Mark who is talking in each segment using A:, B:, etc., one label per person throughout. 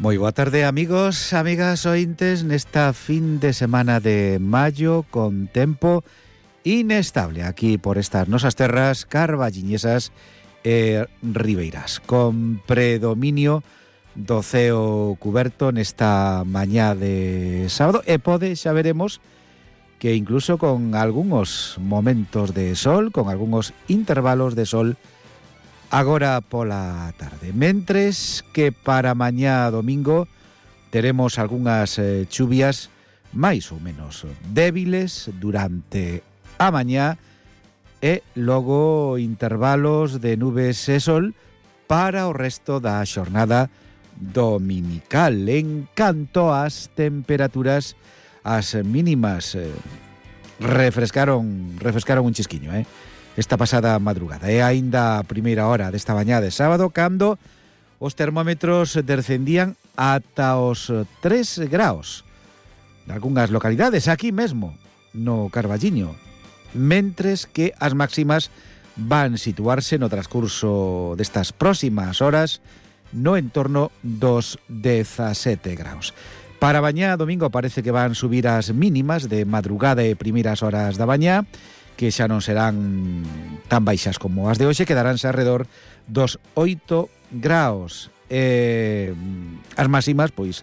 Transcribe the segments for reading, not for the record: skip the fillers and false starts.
A: Moi boa tarde, amigos, amigas ointes, nesta fin de semana de maio con tempo inestable aquí por estas nosas terras carballiñesas e ribeiras, con predominio do ceo cuberto nesta mañá de sábado e pode, xa veremos, que incluso con algúns momentos de sol, con algúns intervalos de sol agora pola tarde. Mentres que para mañá domingo teremos algunhas chuvias máis ou menos débiles durante a mañá e logo intervalos de nubes e sol para o resto da xornada dominical. En canto ás temperaturas, as mínimas refrescaron un chisquiño, esta pasada madrugada. É aínda a primeira hora desta mañá de sábado cando os termómetros descendían ata os 3 graus. Nalgúnhas localidades, aquí mesmo, no Carballiño, mentres que as máximas van situarse no transcurso destas próximas horas no entorno dos 17 graus. Para mañá domingo parece que van subir as mínimas de madrugada e primeiras horas da mañá, que xa non serán tan baixas como as de hoxe, quedaránse alrededor dos 8 graus. As máximas, pois,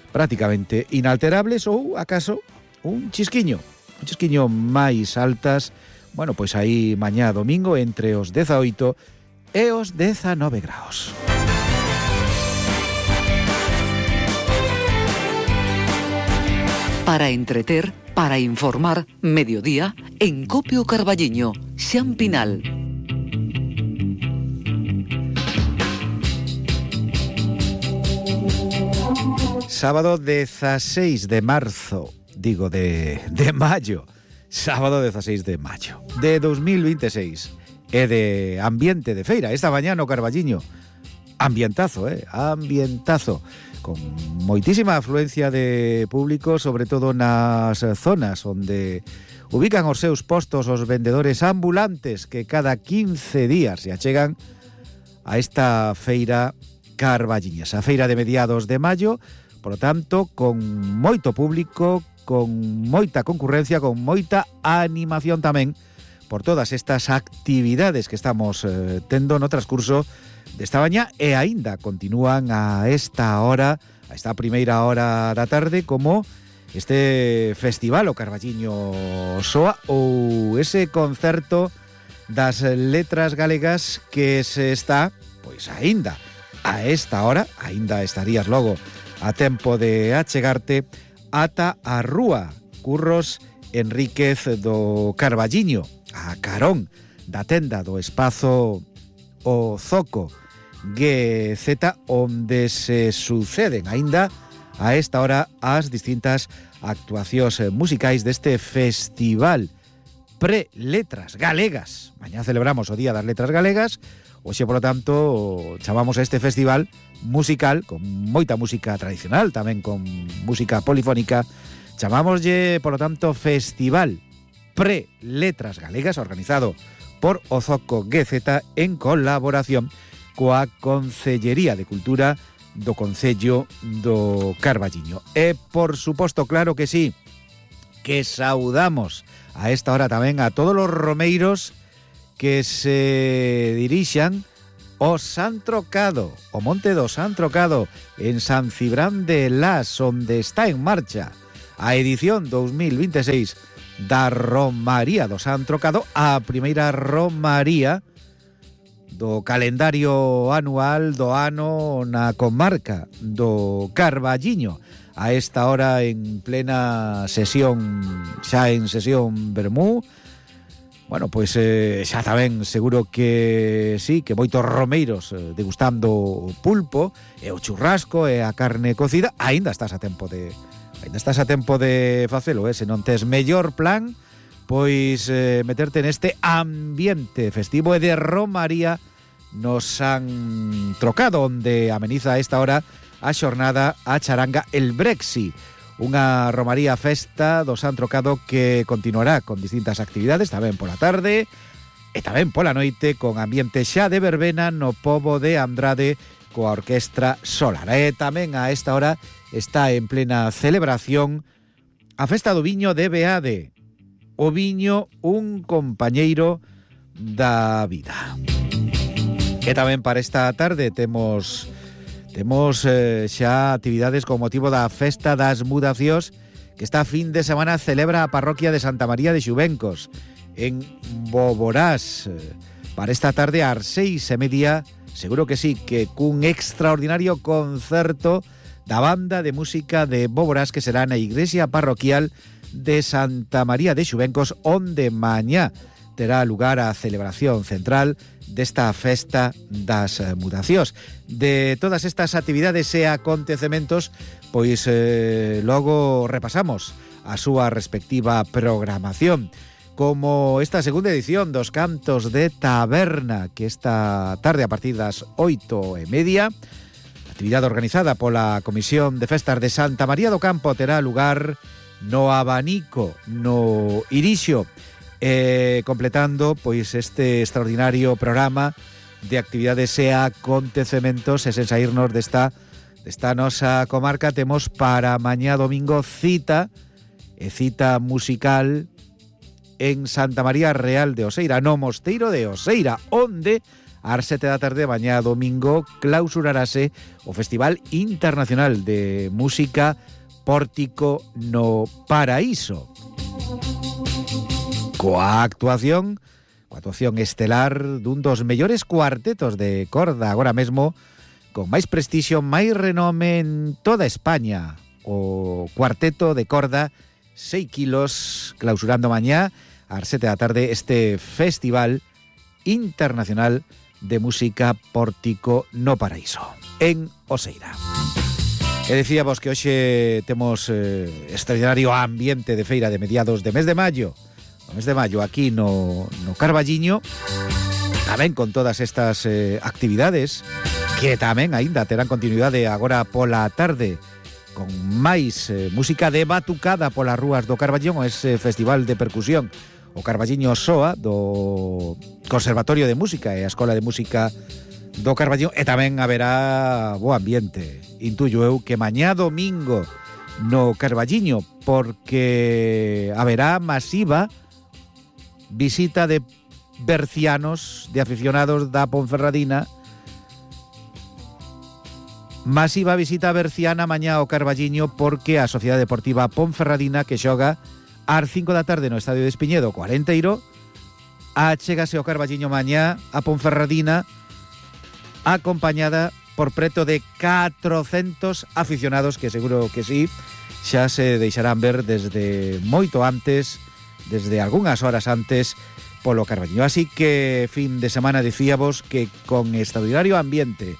A: prácticamente inalterables ou, acaso, un chisquiño máis altas, bueno, pois aí mañá domingo entre os 18 e os 19 graus.
B: Para entreter, para informar, mediodía, en Copio Carballiño, Xan Pinal.
A: Sábado 16 de marzo, digo de maio, sábado 16 de maio de 2026, e de ambiente de feira, esta mañá no Carballiño, ambientazo, ambientazo, con moitísima afluencia de público, sobre todo nas zonas onde ubican os seus postos os vendedores ambulantes que cada 15 días se achegan a esta feira carballiñesa, a feira de mediados de maio, por lo tanto, con moito público, con moita concurrencia, con moita animación tamén por todas estas actividades que estamos tendo no transcurso desta mañá e aínda continúan a esta hora, a esta primeira hora da tarde, como este festival o Carballiño Soa ou ese concerto das letras galegas que se está, pois aínda a esta hora, aínda estarías logo a tempo de achegarte ata a Rúa Curros Enríquez do Carballiño, a carón da tenda do espazo O Zoco GZ, onde se suceden aínda a esta hora as distintas actuacións musicais deste festival pre-letras galegas. Mañá celebramos o Día das Letras Galegas, hoxe, polo tanto, chamamos a este festival musical, con moita música tradicional, tamén con música polifónica, chamámoslle, polo tanto, Festival Pre-Letras Galegas, organizado por O Zoco GZ en colaboración coa Concellería de Cultura do Concello do Carballiño. E, por suposto, claro que sí, que saudamos a esta hora tamén a todos os romeiros que se dirixan ao San Trocado, o Monte do San Trocado, en San Cibrán de Las, onde está en marcha a edición 2026 da Romaría do San Trocado, a primeira Romaría do calendario anual do ano na comarca do Carballiño. A esta hora en plena sesión, xa en sesión vermú. Bueno, pois xa tamén seguro que sí, que moitos romeiros degustando o pulpo e o churrasco e a carne cocida. Aínda estás a tempo de facelo, se non tes mellor plan, pois meterte neste ambiente festivo e de romaría no San Trocado, onde ameniza a esta hora a xornada a charanga El Brexi, unha romaría festa do San Trocado que continuará con distintas actividades tamén pola tarde e tamén pola noite, con ambiente xa de verbena no pobo de Andrade coa Orquestra Solar. E tamén a esta hora está en plena celebración a Festa do Viño de Beade. O viño, un compañeiro da vida. E tamén para esta tarde temos xa actividades con motivo da Festa das Mudacións que esta fin de semana celebra a parroquia de Santa María de Xubencos en Boborás. Para esta tarde ás 6:30, seguro que sí, que cun extraordinario concerto da banda de música de Boborás que será na iglesia parroquial de Santa María de Xubencos, onde mañá terá lugar a celebración central desta Festa das Mudacións. De todas estas actividades e acontecementos, pois logo repasamos a súa respectiva programación, como esta segunda edición dos Cantos de Taberna, que esta tarde a partir das 8:30, actividade organizada pola Comisión de Festas de Santa María do Campo, terá lugar no Abanico, no Irixo, completando pois este extraordinario programa de actividades e acontecementos. E sen saírnos desta nosa comarca, temos para mañá domingo cita musical en Santa María Real de Oseira, no Mosteiro de Oseira, onde ás 7 da tarde mañá domingo clausurarase o Festival Internacional de Música Pórtico no Paraíso, coa actuación estelar dun dos mellores cuartetos de corda agora mesmo, con máis prestixio, máis renome en toda España, o Cuarteto de Corda 6 kilos, clausurando mañá ás 7 da tarde este Festival Internacional de Música Pórtico no Paraíso, en Oseira. E dicíamos que hoxe temos extraordinario ambiente de feira de mediados de mes de maio, aquí no Carballiño, tamén con todas estas actividades que tamén aínda terán continuidade agora pola tarde, con máis música de batucada polas rúas do Carballiño, ese festival de percusión, o Carballiño Soa, do Conservatorio de Música e a Escola de Música do Carballiño. E tamén haberá bo ambiente, intuyo eu, que mañá domingo no Carballiño, porque haberá masiva visita de bercianos, de aficionados da Ponferradina, masiva visita berciana mañá ao Carballiño, porque a Sociedade Deportiva Ponferradina, que xoga ás 5 da tarde no Estadio de Espiñedo co Arenteiro, achégase ao Carballiño mañá a Ponferradina, acompañada por preto de 400 aficionados que seguro que sí xa se deixarán ver desde moito antes, desde algunhas horas antes, polo Carballiño. Así que fin de semana dicíamos que con extraordinario ambiente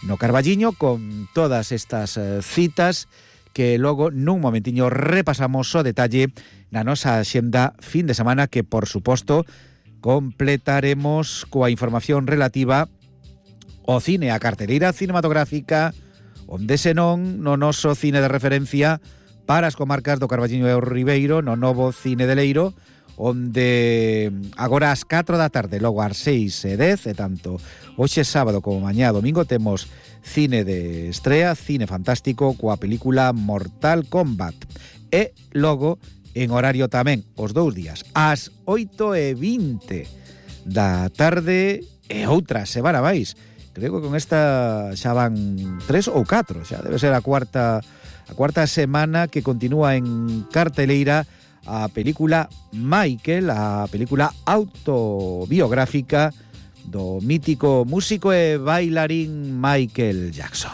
A: no Carballiño, con todas estas citas que logo nun momentiño repasamos o detalle na nosa axenda fin de semana, que por suposto completaremos coa información relativa ao cine, a carteleira cinematográfica, onde senón no noso cine de referencia para as comarcas do Carballiño e o Ribeiro, no novo Cine de Leiro, onde agora ás 4 da tarde, logo ás 6:10, e tanto hoxe sábado como mañá domingo temos cine de estrea, cine fantástico coa película Mortal Kombat. E logo en horario tamén os dous días, ás 8:20 da tarde, e outra semana máis. Creo que con esta xa van 3 ou 4, xa debe ser a cuarta semana que continúa en carteleira a película Michael, a película autobiográfica do mítico músico e bailarín Michael Jackson.